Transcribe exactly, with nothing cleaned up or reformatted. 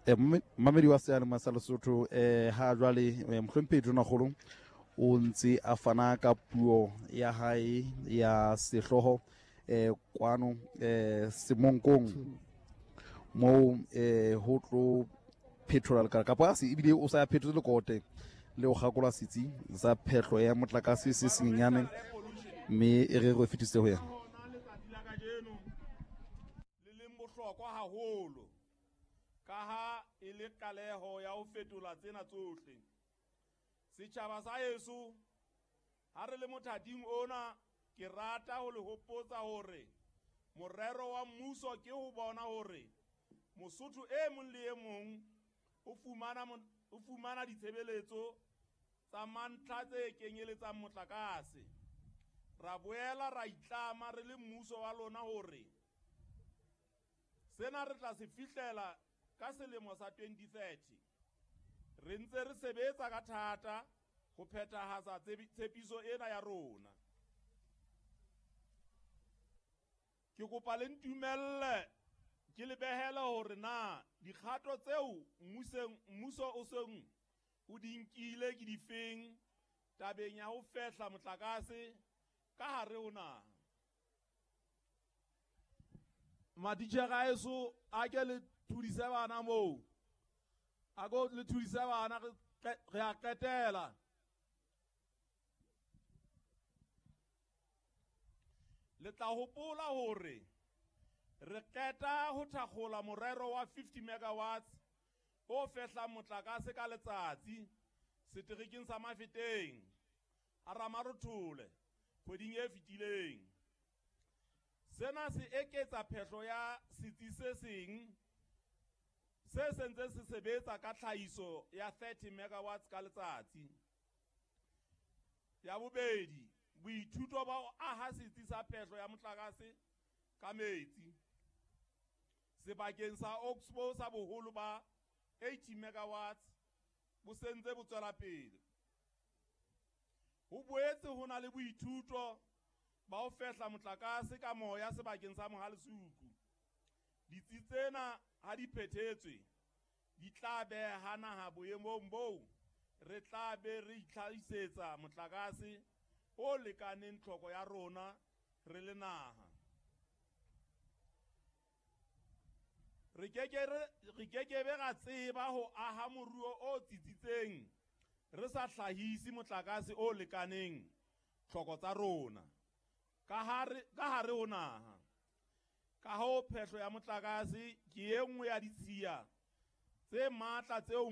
Eh, mmamedi wa seyalemoya sa Lesotho, eh ha jwale eh, mohlomphehi Tonakgolo o ntse a fana ka puo ya hae ya sehlooho eh kwano eh Semonkong moo eh ho tlo phethola lekala kapa se ebile o sa phethotse lekote le ho kgakola setsi sa phehlo ya motlakase se senyenyane, mme e re re fetise ho yena. Letsatsi la kajeno le leng bohlokwa haholo ka ha e le qaleho ya ho fetola tsena tsohle. Setjhaba sa heso, ha re le mothating ona, ke rata ho le hopotsa hore morero wa mmuso ke ho bona hore Mosotho e mong le e mong o fumana o fumana ditshebeletso tsa mantlha tse kenyeletsang motlakase. Ra boela ra itlama re le mmuso wa lona hore sena re tla se fihlela ka selemo sa twenty thirty. Re ntse re sebetsa ka thata ho phethahatsa tshepiso ena ya rona. Ke kopa le ntumelle ke le behele hore na dikgato tseo mmuso o seng o di nkile ke difeng tabeng ya ho fehla motlakase ka hare ho naha. Matitjhere a heso, a ke le thudise bana moo, a ko le thudise bana, re a qetela. Le tla hopola hore re qeta ho thakgola morero wa fifty megawatts o fehlang motlakase ka letsatsi seterekeng sa Mafeteng a Ramarothole kgweding e fetileng. Sena se eketsa phehlo ya setsi se seng se sentse se sebetsa ka tlhahiso ya thirty megawatts ka letsatsi. Ya bobedi, boithuto ba ho aha setsi sa phehlo ya motlakase ka metsi sebakeng sa Oxbow sa boholo ba eighty megawatts bo sentse bo tswela pele. Ho boetse ho na le boithuto ba ho fehla motlakase ka moya sebakeng sa Mohalesuku. Ditsi tsena ha di phethetswe di tla beha naha boemong boo re tla be re itlhahisetsa motlakase o lekaneng tlhoko ya rona re le naha. Re keke re kekebe ra tseba ho aha moruo o tsitsitseng re sa hlahise motlakase o lekaneng tlhoko tsa rona ka hare ka hare ho naha. Ka hoo phehlo ya motlakase ke e nngwe ya ditshiya tse matla tseo